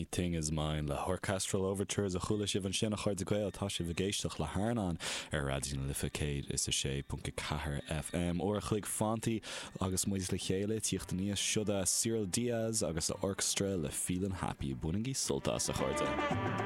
Anything Is Mine le hOrchestral Overtures a chuala sibh ansin, a chairde Gael. Tá sibh ag éisteacht le hArnán ar Raidió na Life 106.4 FM. Uair a chloig fanta agus muid le chéile, tíocht aníos, siod é Cyril Diaz agus a orchestra le Feelin' Happy. Bainigí sult as, a chairde.